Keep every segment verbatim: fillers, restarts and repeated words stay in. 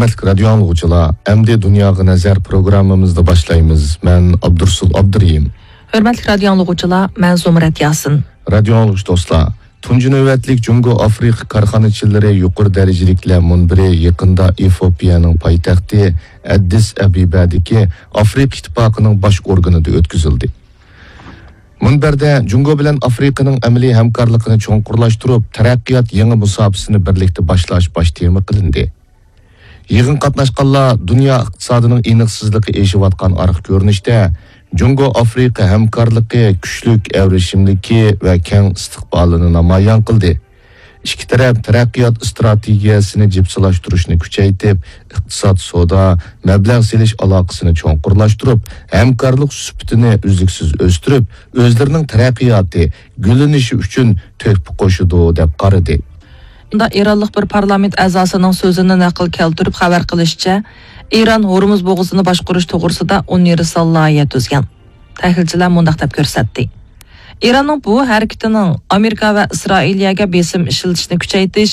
ھۆرمەتلىك رادىيو ئاڭلىغۇچىلار، ئەمدى دۇنياغا نەزەر پروگراممىمىزنى باشلايمىز. مەن ئابدۇرسۇل ئابدۇرېھىم. ھۆرمەتلىك رادىيو ئاڭلىغۇچىلار، مەن زۇمرەت ياسىن. رادىيو ئاڭلىغۇچى دوستلار، تۇنجى نۆۋەتلىك جۇڭگو ئافرىقا كارخانىچىلىرى يۇقىرى دەرىجىلىكلەر مۇنبىرى يېقىندا ئېفىئوپىيەنىڭ پايتەختى ئەددىس ئەبىبەدىكى ئافرىقا ئىتتىپاقىنىڭ باش ئورگىنىدا ئۆتكۈزۈلدى. مۇنبەردە جۇڭگو بىلەن ئافرىقىنىڭ ئەمەلىي ھەمكارلىقىنى چوڭقۇرلاشتۇرۇپ، تەرەققىيات يېڭى مۇساپىسىنى بىرلىكتە باشلاش باش تېما قىلىندى. يىغىنغا قاتناشقانلار دۇنيا ئىقتىسادىنىڭ ئېنىقسىزلىقى ئېشىۋاتقان ئارقا كۆرۈنۈشتە، جۇڭگو ئافرىقا ھەمكارلىقى كۈچلۈك ئەۋرىشىملىكى ۋە كەڭ ئىستىقبالىنى نامايان قىلدى. ئىككى تەرەپ تەرەققىيات ئىستراتېگىيەسىنى جىپسىلاشتۇرۇشنى كۈچەيتىپ، ئىقتىساد، سودا، مەبلەغ سېلىش ئالاقىسىنى چوڭقۇرلاشتۇرۇپ، ھەمكارلىق سۈپىتىنى ئۈزلۈكسىز ئۆستۈرۈپ، ئۆزلىرىنىڭ تەرەققىياتى، گۈللىنىشى ئۈچۈن تۆھپە قوشىدۇ، دەپ قارىدى. بۇندا ئىرانلىق بىر پارلامېنت ئەزاسىنىڭ سۆزىنى نەقىل كەلتۈرۈپ خەۋەر قىلىشىچە، ئىران ھورمۇز بوغۇزىنى باشقۇرۇش توغرىسىدا ئۇنىۋېرسال لايىھە تۈزگەن. تەھلىلچىلەر مۇنداق دەپ كۆرسەتتى: ئىراننىڭ بۇ ھەرىكىتىنىڭ ئامېرىكا ۋە ئىسرائىلىيەگە بېسىم ئىشلىتىشنى كۈچەيتىش،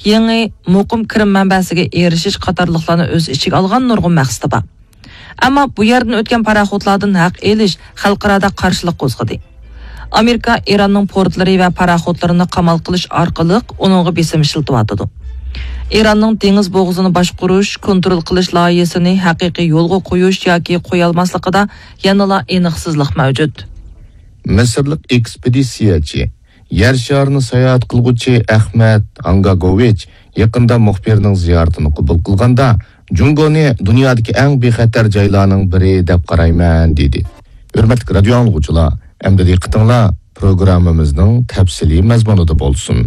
يېڭى مۇقىم كىرىم مەنبەسىگە ئېرىشىش قاتارلىقلارنى ئۆز ئىچىگە ئالغان نۇرغۇن مەقسىتى بار. ئەمما بۇ يەردىن ئۆتكەن پاراخوتلاردىن ھەق ئېلىش خەلقئارادا قارشىلىق قوزغىدى. ئامېرىكا ئىراننىڭ پورتلىرى ۋە پاراخوتلىرىنى قامال قىلىش ئارقىلىق ئۇنىڭغا بېسىم ئىشلىتىۋاتىدۇ. ئىراننىڭ دېڭىز بوغۇزىنى باشقۇرۇش، كونترول قىلىش لايىھىسىنى ھەقىقىي يولغا قويۇش ياكى قويالماسلىقىدا يەنىلا ئېنىقسىزلىق مەۋجۇت. مىسىرلىق ئېكسپېدىتسىيەچى، يەر شارىنى ساياھەت قىلغۇچى ئەخمەت ئانگاگوۋىچ يېقىندا مۇخبىرنىڭ زىيارىتىنى قوبۇل قىلغاندا، جۇڭگونى دۇنيادىكى ئەڭ بىخەتەر جايلارنىڭ بىرى دەپ قارايمەن، دېدى. ھۆرمەتلىك رادىيو ئاڭلىغۇچىلار، ئەمدى دىققىتىڭلار پروگراممىمىزنىڭ تەپسىلىي مەزمۇنىدا بولسۇن.